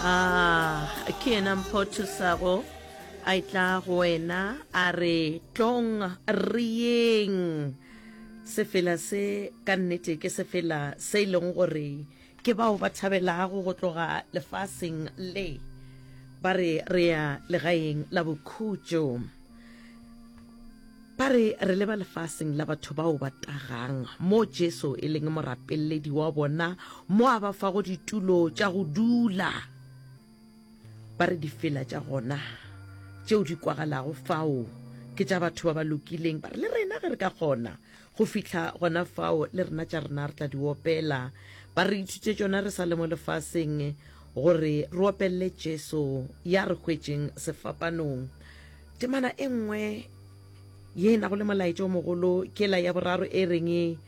Ah, ke yena Mpho Thusago a etla go wena a re tlong re yeng. Sefela se ka nnete ke sefela se e leng gore ke bao ba thabelago go tloga lefaseng le ba re re ya legaeng la bokhutšo. Ba re re leba lefaseng la batho bao ba tagang, mo Jesu e leng morapeledi wa bona, mo a ba fago ditulo tša go dula. Ba re difela tša gona tšeo di kwagalago fao ke tša batho ba ba lokileng. Ba re le rena ge re ka kgona go fihla gona fao, le rena tša rena re tla di opela. Ba re ithute tšona re sa le mo lefaseng, gore re opelele Jesu ya re hwetšeng sefapanong. Temana e nngwe ye e nago le molaetša o mogolo ke la ya boraro e reng,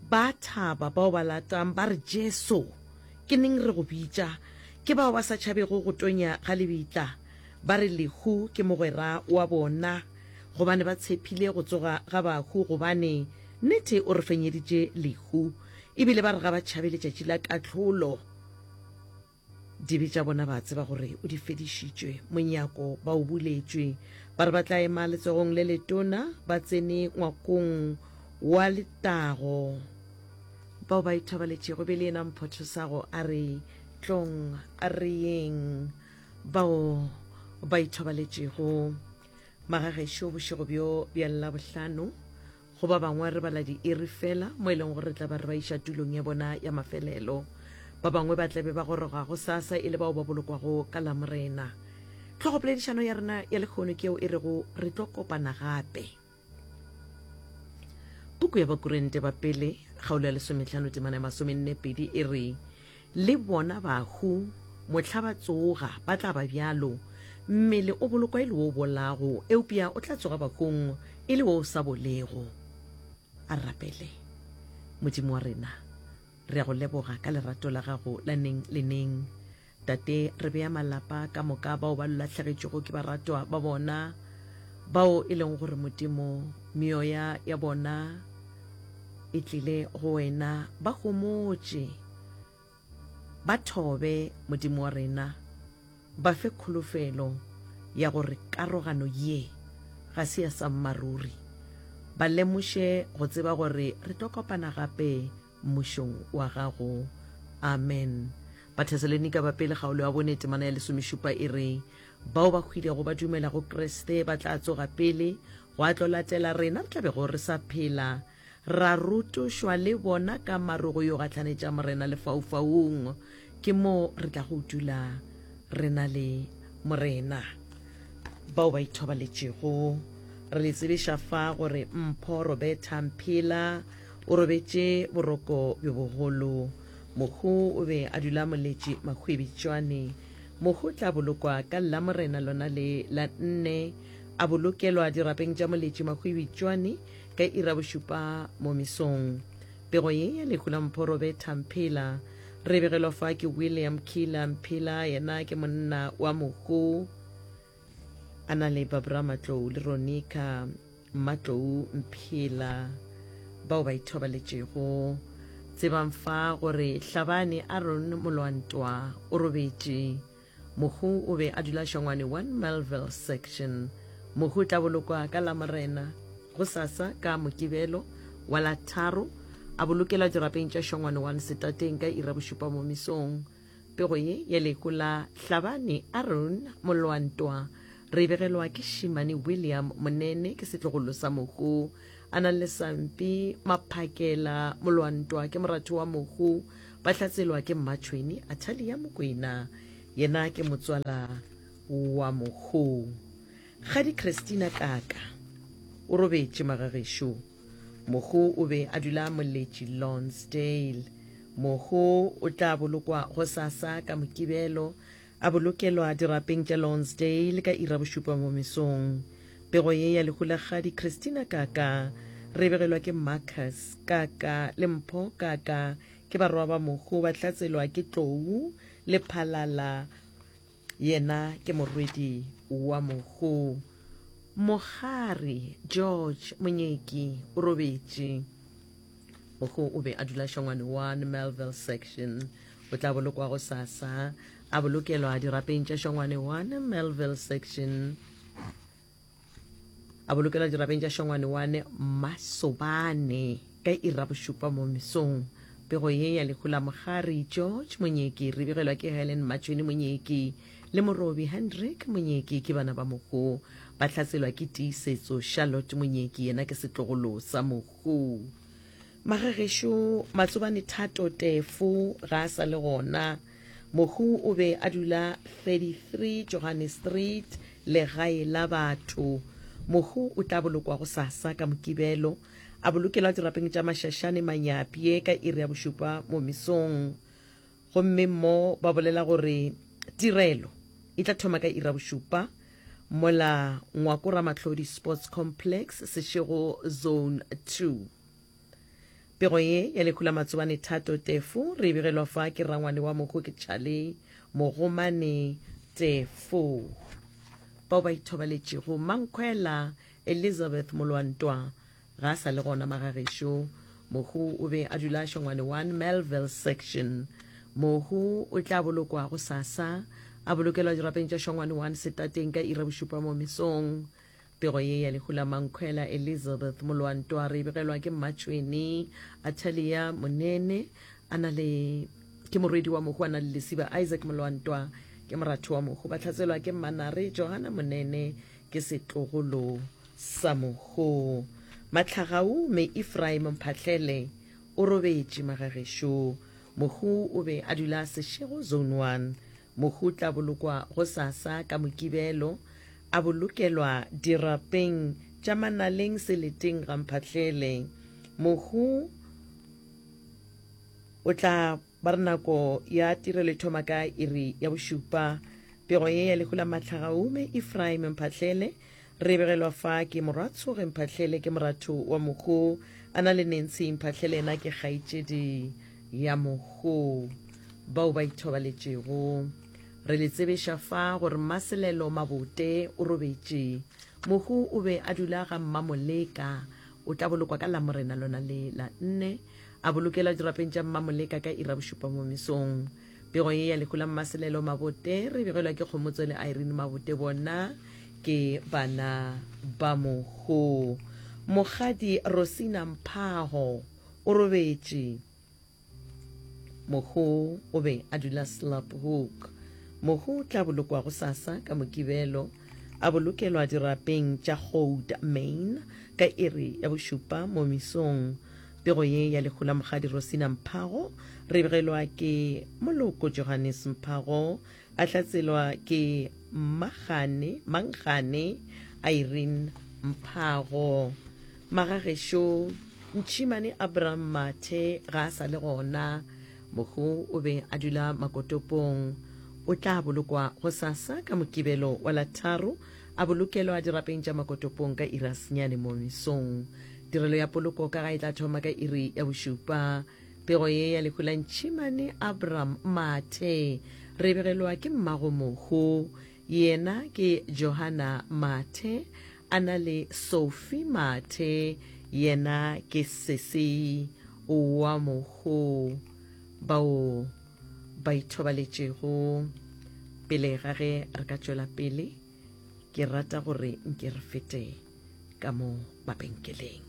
Ba thaba bao ba latang ba re, Jesu, ke neng re go bitša? Ke bao ba sa tšhabego go tonya ga lebitla, ba re lehu ke mogwera wa bona, gobane ba tshephile go tsoga ga bahu, gobane nnete o re fenyeditše lehu. E bile ba re ga ba tšhabe letšatši la kahlolo. Dibe tša bona ba tseba gore o di fedišitšwe, monyako ba o buletšwe. Ba re ba tla ema letsogong le letona, ba tsene ngwakong wa letago. Bao ba ithobaletšego be le yena Mphothosago a re, Tlong re yeng. Bao ba ithobaletšego magagešo bošego bjo bja Labohlano, Go ba bangwe re bala diiri feela mo e leng gore re tla ba re ba iša tulong ya bona ya mafelelo. Ba bangwe ba tla be ba goroga gosasa e le bao ba bolokwago ka Lamorena. Hlogopoledišano ya rena ya lehono ke yeo e rego Re tlo Kopana Gape. Puku ya Bakorinte ba Pele, kgaolo ya lesomehlano temana ya masomennepedi e re, Le bona bahu, mohla ba tsoga, ba tla ba bjalo. Mmele o bolokwa e le wo o bolago, eupša o tla tsoga bahung e le wo o sa bolego. A re rapele. Modimo wa rena, re a go leboga ka lerato la gago la neng le neng. Tate, re bea malapa ka moka bao ba lahlegetšwego ke baratwa ba bona, bao e leng gore Modimo, meoya ya bona e tlile go wena, ba homotše. Ba thobe, Modimo wa rena, ba fe kholofelo ya gore karogano ye ga se ya sammaruri. Ba lemoše go tseba gore re tlo kopana gape Mmušong wa Gago. Amen. Bathesalonika ba Pele kgaolo ya bone temana ya lesomešupa e re, Bao ba hwilego ba dumela go Kriste ba tla tsoga pele, gwa tlo latela rena re tla bego re sa phela. Ra rotošwa le bona ka maru go yo gahlanetša Morena lefaufaung. Ke mo re tlago dula re na le Morena. Bao ba ithobaletšego, re le tsebiša fa gore Mpho Roberta Mphela o robetše boroko bjo bogolo. Mohu o be a dula Moletši Mahwibitšwane. Mohu o tla bolokwa ka Lamorena lona le la nne, a bolokelwa dirapeng tša Moletši Mahwibitšwane Ka iri ya bošupa mo mesong. Pego ye ya lehu la Mpho Roberta Mphela re e begelwa fa ke William Killer Mphela, yena ke monna wa mohu a na le Barbara Matlou le Ronica Matlou Mphela bao ba ithobaletšego. Tsebang fa gore Hlabane Aaron Molwantwa o robetše. Mohu o be a dula Shongwane 1 Melville Section. Mohu o tla bolokwa ka Lamorena, gosasa ka Mokibelo wa la tharo, a bolokelwa dirapeng tša Shongwane 1 Setateng ka iri ya bošupa mo mesong. Pego ye ya lehu la Hlabane Aaron Molwantwa re e begelwa ke Shimane William Monene, ke setlogolo sa mohu. A na le Sampi Maphakela Molwantwa ke moratho wa mohu. Ba hlatselwa ke Mmatšhweni Athalia Mokwena, yena ke motswala wa mohu. Kgadi Christina Kaka o robetše magagešo. Mohu o be a dula Moletši Lonsdale. Mohu o tla bolokwa gosasa ka Mokibelo, a bolokelwa dirapeng tša Lonsdale ka iri ya bošupa mo mesong. Pego ye ya lehu la Kgadi Christina Kaka re e begelwa ke Marcus Kaka le Mpho Kaka, ke barwa ba mohu ba hlatselwa ke Tlou le Phalala, yena ke morwedi wa mohu. Mokgari George Monyeki o robetše. Mohu o be a dula Shongwane 1 Melville Section. O tla bolokwa gosasa. A bolokelwa dirapeng tša Shongwane 1, Melville Section. A bolokelwa dirapeng tša Shongwane 1, Masobane ka iri ya bošupa mo mesong. Pego ye ya lehu la Mokgari George Monyeki re begelwa ke Helen Matšhweni Monyeki le Morobi Hendrik Monyeki ke bana ba mohu. Ba hlatselwa ke Tiisetso Charlotte Monyeki yena ke setlogolo sa mohu. Magagešo Matsobane Thato Tefo ga a sa le gona. Mohu o be a dula 33 Johannes Street, legae la batho. Mohu o tla bolokwa gosasa ka Mokibelo, a bolokelwa dirapeng tša Mashashane Manyapye ka iri ya bošupa mo mesong. Gomme mo ba bolela gore tirelo e tla thoma ka iri ya bošupa mola Ngwako Ramahlodi Sports Complex, Seshego Zone 2. Pego ye ya lehu la Matsobane Thato Tefo re e begelwa fa ke rangwane wa mohu ke Charlie Mogomane Tefo. Bao ba ithobaletšego Mankhwela Elizabeth Molwantwa ga a sa le gona magagešo. Mohu o be a dula Shongwane 1 Melville Section. Mohu o tla bolokwa gosasa a bolokelwa dirapeng tša Shongwane 1 setateng ka iri ya bošupa mo mesong. Pego ye ya lehu la Mankhwela Elizabeth Molwantwa re e begelwa ke Mmatšhweni Atalia Monene a na le ke morwedi wa mohu a na le lesiba Isaac Molwantwa ke moratho wa mohu ba hlatselwa ke Mmanare Johanna Monene ke setlogolo sa mohu. Mahlagau me Ephraim Mphahlele o robetše magagešo. Mohu o be a dula Seshego Zone 1. Mohu o tla bolokwa gosasa ka Mokibelo, a bolokelwa dirapeng tša Manaleng seleteng ga Mphahlele. Mohu o tla ba re nako ya tirelo e thoma ka iri ya bošupa. Pego ye ya lehu la Mahlagaume Ephraim Mphahlele re e begelwa fa ke Morwatshoge Mphahlele ke moratho wa mohu a na le Nancy Mphahlele yena ke kgaetšedi ya mohu bao ba ithobaletšego. Re le tsebeša fa gore Mmaselelo Mabote o robetše. Mohu o be a dula ga Mmamoleka. O tla bolokwa ka Lamorena lona le la nne. A bolokelwa dirapeng tša Mmamoleka ka iri ya bošupa mo mesong. Pego ye ya lehu la Mmaselelo Mabote re begelwa ke Kgomotso le Irene Mabote bona ke bana ba mohu. Mokgadi Rosina Mphaho o robetše. Mohu o be a dula Slaphoek. Mohu o tla bolokwa gosasa ka Mokibelo, a bolokelwa dirapeng tša Goud Main ka iri ya bošupa mo mesong. Pego ye ya lehu la Mokgadi Rosina Mphago re begelwa ke Moloko Johannes Mphago, a hlatselwa ke Mmagane, Mankgane Irene Mphago. Magagešo, Ntšhimane Abraham Mathe ga a sa le gona. Mohu o be a dula Makotopong. O tla bolokwa gosasa ka Mokibelo wa la tharo, a bolokelwa dirapeng tša Makotopong ka iri ya senyane mo mesong. Tirelo ya poloko ka ga e tla thoma ka iri ya bošupa. Pego ye ya lehu la Ntšhimane Abraham Mathe re e begelwa ke mmago mohu. Yena ke Johanna Mathe a na le Sophie Mathe, yena ke sesi wa mohu bao ba ithobaletšego. Pele ga ge re ka tšwela pele, ke rata gore nke re fete ka mo mabenkeleng.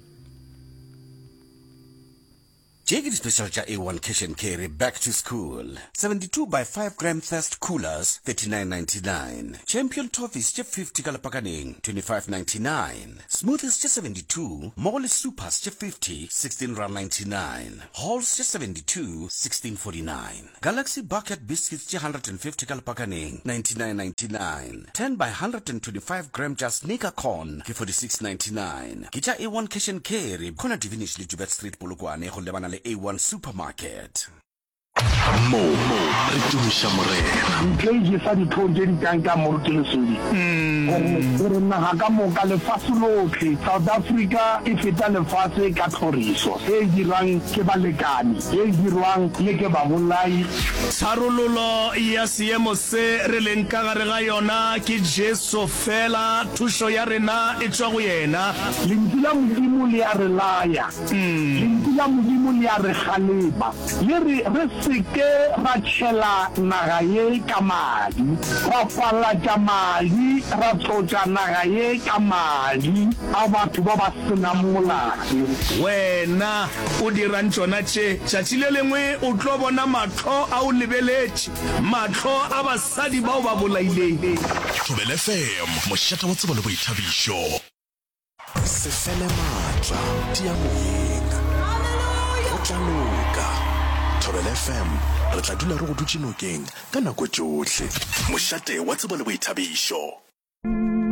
Tše ke di-special tša A1 Cash and Carry Back to School. 72 by 5 gram Thirst Coolers, 39.99. Champion Toffees tše 50 ka lepakaneng, 25.99. Smoothies tše 72 mmogo le Supers tše 50, 16.99. Halls tše 72, 16.49. Galaxy Bucket Biscuits tše 150 ka lepakaneng, 99.99. 10 by 125 gram tša Sneaker Corn ke 46.99. Ke tša A1 Cash and Carry, corner Divinish le Joubert Street Polokwane go lebana le A1 Supermarket. Mo re tumiša Morena. Ntlo e jesa dihlong tše di kankang Moruti Lesodi gore gore naga ka moka, lefase lohle, South Africa e feta lefase ka tlhoriso e dirwang ke balekane, e dirwang le ke babolai. Tharololo ya seemo se re leng ka gare ga yona ke Jesu feela, thušo ya rena e tšwa go yena. Lentšu la Modimo le a re laya. Lentšu la Modimo le a re kgalema. Le re re se. se ke ra tšhela naga ye ka madi, ra falatša madi, ra tlotša naga ye ka madi a batho ba ba se nang molato. Wena o dirang tšona tše? Tšatši le lengwe o tlo bona mahlo a o lebeletše, mahlo a basadi ba o ba bolaileng. Thobela FM, mošate wa tsebo le boithabišo. Se fele maatla, tia moyeng. Go tla loka. Thobela FM, re tla dula re go dutše nokeng ka nako tšohle. Mošate wa tsebo le boithabišo.